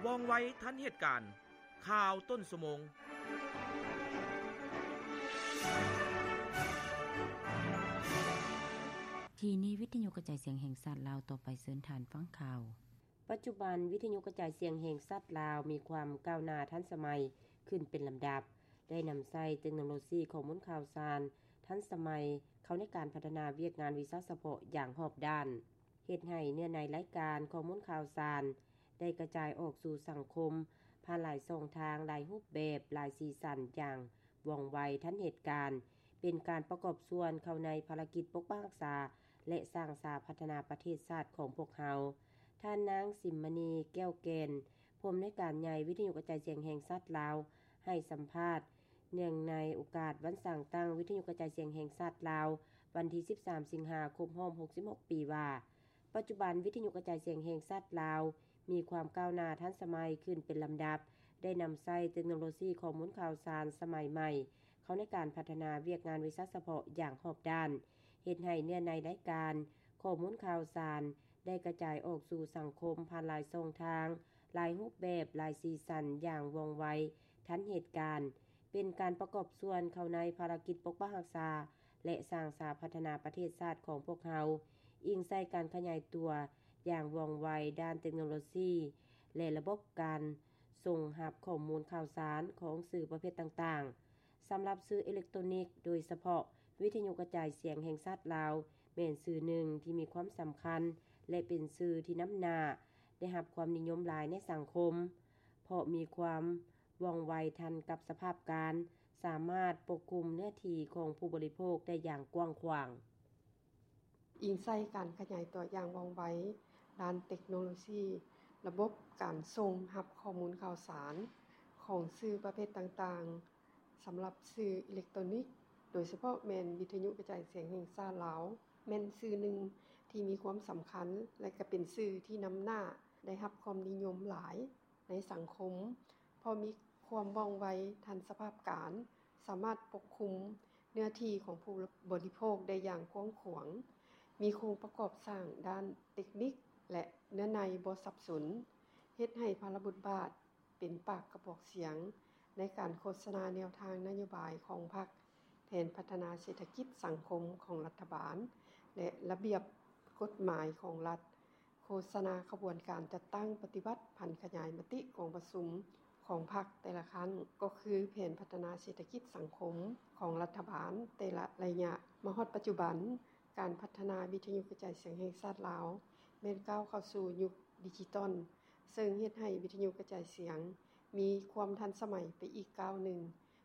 ວ່ອງໄວທັນເຫດການ. ຂ່າວຕົ້ນຊົ່ວໂມງ. ທີ່ນີ້ວິທະຍຸກະຈາຍສຽງແຫ່ງຊາດລາວ, ຕໍ່ໄປເຊີນທ່ານຟັງຂ່າວ. ປັດຈຸບັນ, ວິທະຍຸກະຈາຍສຽງແຫ່ງຊາດລາວມີຄວາມກ້າວໜ້າທັນສະໄໝຂຶ້ນເປັນລຳດັບ, ໄດ້ນຳໃຊ້ເຕັກໂນໂລຊີຂໍ້ມູນຂ່າວສານທັນສະໄໝເຂົ້າໃນການພັດທະນາວຽກງານວິຊາສະເພາະຢ່າງຮອບດ້ານ, ເຮັດໃຫ້ເນື້ອໃນລາຍການຂໍ້ມູນຂ່າວສານໄດ້ກະຈາຍອອກສູ່ສັງຄົມຜ່ານຫຼາຍຊ່ອງທາງ, ຫຼາຍຮູບແບບ, ຫຼາຍສີສັນຢ່າງວ່ອງໄວທັນເຫດການ, ເປັນການປະກອບສ່ວນເຂົ້າໃນພາລະກິດປົກປັກຮັກສາ ແລະ ສ້າງສາພັດທະນາປະເທດຊາດຂອງພວກເຮົາ. ທ່ານນາງ ສິມມະນີ ແກ້ວແກ່ນ, ຜູ້ອຳນວຍການໃຫຍ່ວິທະຍຸກະຈາຍສຽງແຫ່ງຊາດລາວ, ໃຫ້ສຳພາດເນື່ອງໃນໂອກາດວັນສ້າງຕັ້ງວິທະຍຸກະຈາຍສຽງແຫ່ງຊາດລາວ, ວັນທີສິບສາມ ສິງຫາ ຄົບຮອບຫົກສິບຫົກປີວ່າ, ປັດຈຸບັນວິທະຍຸກະຈາຍສຽງແຫ່ງຊາດລາວມີຄວາມກ້າວໜ້າທັນສະໄໝຂຶ້ນເປັນລຳດັບ, ໄດ້ນຳໃຊ້ເຕັກໂນໂລຊີຂໍ້ມູນຂ່າວສານສະໄໝໃໝ່ເຂົ້າໃນການພັດທະນາວຽກງານວິຊາສະເພາະຢ່າງຮອບດ້ານ, ເຮັດໃຫ້ເນື້ອໃນລາຍການຂໍ້ມູນຂ່າວສານ ໄດ້ກະຈາຍອອກສູ່ສັງຄົມຜ່ານຫຼາຍຊ່ອງທາງ, ຫຼາຍຮູບແບບ, ຫຼາຍສີສັນຢ່າງວ່ອງໄວທັນເຫດການ, ເປັນການປະກອບສ່ວນເຂົ້າໃນພາລະກິດປົກປັກຮັກສາ ແລະ ສ້າງສາພັດທະນາປະເທດຊາດຂອງພວກເຮົາ, ອີງໃສ່ການຂະຫຍາຍຕົວຢ່າງວ່ອງໄວດ້ານເຕັກໂນໂລຊີ ແລະ ລະບົບການສົ່ງຮັບຂໍ້ມູນຂ່າວສານຂອງສື່ປະເພດຕ່າງໆ. ສຳລັບສື່ເອເລັກໂຕນິກ, ໂດຍສະເພາະວິທະຍຸກະຈາຍສຽງແຫ່ງຊາດລາວ ແມ່ນສື່ໜຶ່ງທີ່ມີຄວາມສຳຄັນ ແລະ ເປັນສື່ທີ່ນຳໜ້າໄດ້ຮັບຄວາມນິຍົມຫຼາຍໃນສັງຄົມ, ເພາະມີຄວາມວ່ອງໄວທັນກັບສະພາບການ, ສາມາດປົກຄຸມເນື້ອທີ່ຂອງຜູ້ບໍລິໂພກໄດ້ຢ່າງກວ້າງຂວາງ. ອີງໃສ່ການຂະຫຍາຍຕົວຢ່າງວ່ອງໄວດ້ານເຕັກໂນໂລຊີ, ລະບົບການສົ່ງຮັບຂໍ້ມູນຂ່າວສານຂອງສື່ປະເພດຕ່າງໆ, ສຳລັບສື່ເອເລັກໂຕນິກ, ໂດຍສະເພາະແມ່ນວິທະຍຸກະຈາຍສຽງແຫ່ງຊາດລາວ, ແມ່ນສື່ໜຶ່ງທີ່ມີຄວາມສຳຄັນ ແລະ ກະເປັນສື່ທີ່ນຳໜ້າໄດ້ຮັບຄວາມນິຍົມຫຼາຍໃນສັງຄົມ, ເພາະມີຄວາມວ່ອງໄວທັນສະພາບການ, ສາມາດປົກຄຸມເນື້ອທີ່ຂອງຜູ້ບໍລິໂພກໄດ້ຢ່າງກວ້າງຂວາງ, ມີໂຄງປະກອບສ້າງດ້ານເຕັກນິກ ແລະ ເນື້ອໃນບໍ່ສັບສົນ, ເຮັດໃຫ້ພາລະບົດບາດ ເປັນປາກກະບອກສຽງໃນການໂຄສະນາແນວທາງນະໂຍບາຍຂອງພັກ, ແຜນພັດທະນາເສດຖະກິດສັງຄົມຂອງລັດຖະບານ ແລະ ລະບຽບກົດໝາຍຂອງລັດ, ໂຄສະນາຂະບວນການຈັດຕັ້ງປະຕິບັດຜັນຂະຫຍາຍມະຕິກອງປະຊຸມຂອງພັກແຕ່ລະຄັ້ງ, ກໍຄືແຜນພັດທະນາເສດຖະກິດສັງຄົມຂອງລັດຖະບານແຕ່ລະໄລຍະ. ມາຮອດປັດຈຸບັນ, ການພັດທະນາວິທະຍຸກະຈາຍສຽງແຫ່ງຊາດລາວ ແມ່ນກ້າວເຂົ້າສູ່ຍຸກດິຈິຕອນ, ເຊິ່ງເຮັດໃຫ້ວິທະຍຸກະຈາຍສຽງມີຄວາມທັນສະໄໝໄປອີກກ້າວໜຶ່ງ,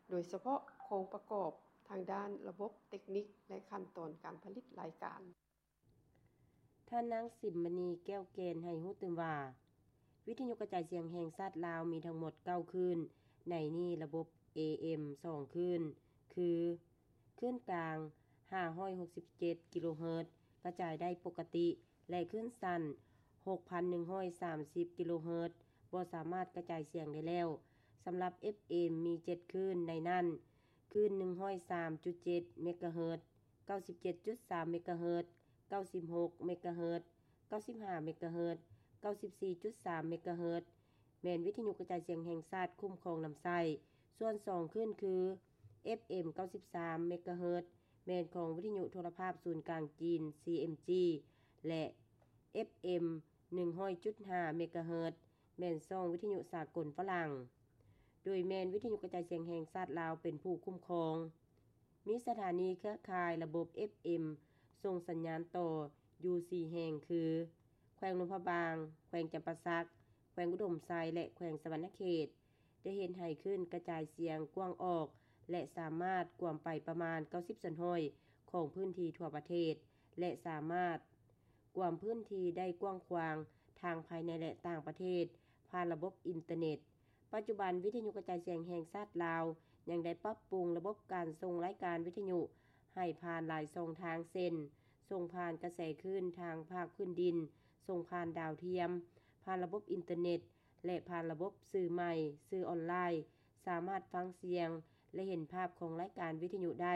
ໂດຍສະເພາະໂຄງປະກອບທາງດ້ານລະບົບເຕັກນິກ ແລະ ຂັ້ນຕອນການຜະລິດລາຍການ. ທ່ານນາງ ສິມມະນີ ແກ້ວແກ່ນ ໃຫ້ຮູ້ຕື່ມວ່າ, ວິທະຍຸກະຈາຍສຽງແຫ່ງຊາດລາວມີທັງໝົດເກົ້າຄື້ນ, ໃນນີ້ລະບົບ ເອເອັມ ສອງຄື້ນ ຄື ຄື້ນກາງ ຫ້າຮ້ອຍຫົກສິບເຈັດ ກິໂລເຮີດ ກະຈາຍໄດ້ປົກກະຕິ ແລະ ຄື້ນສັ້ນ ຫົກພັນໜຶ່ງຮ້ອຍສາມສິບ ກິໂລເຮີດ ບໍ່ສາມາດກະຈາຍສຽງໄດ້ແລ້ວ. ສຳລັບ ເອັບເອັມ ມີເຈັດຄື້ນ, ໃນນັ້ນ ຄື້ນ ໜຶ່ງຮ້ອຍສາມຈຸດເຈັດ ເມກາເຮີດ, ເກົ້າສິບເຈັດຈຸດສາມ ເມກາເຮີດ, ເກົ້າສິບຫົກ ເມກາເຮີດ, ເກົ້າສິບຫ້າ ເມກາເຮີດ, ເກົ້າສິບສີ່ຈຸດສາມ ເມກາເຮີດ ແມ່ນວິທະຍຸກະຈາຍສຽງແຫ່ງຊາດຄຸ້ມຄອງນຳໃຊ້. ສ່ວນສອງຄື້ນຄື ເອັບເອັມ ເກົ້າສິບສາມ ເມກາເຮີດ ແມ່ນຂອງວິທະຍຸໂທລະພາບສູນກາງຈີນ ຊີເອັມຈີ ແລະ ເອັບເອັມ ໜຶ່ງຮ້ອຍຈຸດຫ້າ ເມກາເຮີດ ແມ່ນຊ່ອງວິທະຍຸສາກົນຝຣັ່ງ, ໂດຍແມ່ນວິທະຍຸກະຈາຍສຽງແຫ່ງຊາດລາວເປັນຜູ້ຄຸ້ມຄອງ. ມີສະຖານີເຄືອຂ່າຍລະບົບ ເອັບເອັມ ສົ່ງສັນຍານຕໍ່ຢູ່ສີ່ແຫ່ງຄື ແຂວງຫຼວງພະບາງ, ແຂວງຈຳປາສັກ, ແຂວງອຸດົມໄຊ ແລະ ແຂວງສະຫວັນນະເຂດ, ໄດ້ເຮັດໃຫ້ຄື້ນກະຈາຍສຽງກວ້າງອອກ ແລະ ສາມາດກວມໄປປະມານເກົ້າສິບສ່ວນຮ້ອຍຂອງພື້ນທີ່ທົ່ວປະເທດ ແລະ ສາມາດກວມພື້ນທີ່ໄດ້ກວ້າງຂວາງທັງພາຍໃນ ແລະ ຕ່າງປະເທດ ຜ່ານລະບົບອິນເຕີເນັດ. ປັດຈຸບັນ, ວິທະຍຸກະຈາຍສຽງແຫ່ງຊາດລາວ ຍັງໄດ້ປັບປຸງລະບົບການສົ່ງລາຍການວິທະຍຸໃຫ້ຜ່ານຫຼາຍຊ່ອງທາງ ເຊັ່ນ ສົ່ງຜ່ານກະແສຄື້ນທາງພາກພື້ນດິນ, ສົ່ງຜ່ານດາວທຽມ, ຜ່ານລະບົບອິນເຕີເນັດ ແລະ ຜ່ານລະບົບສື່ໃໝ່, ສື່ອອນລາຍ, ສາມາດຟັງສຽງ ແລະ ເຫັນພາບຂອງລາຍການວິທະຍຸໄດ້,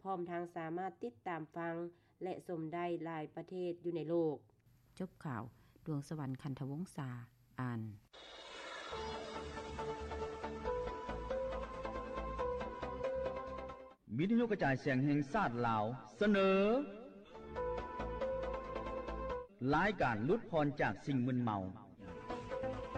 ພ້ອມທັງສາມາດຕິດຕາມຟັງ ແລະ ຊົມໄດ້ຫຼາຍປະເທດຢູ່ໃນໂລກ. ຈົບຂ່າວ, ດວງສະຫວັນ ຄັນທະວົງສາ ອ່ານ. ວິທະຍຸກະຈາຍສຽງແຫ່ງຊາດລາວ ສະເໜີ ລາຍການຫຼຸດຜ່ອນຈາກສິ່ງມຶນເມົາ.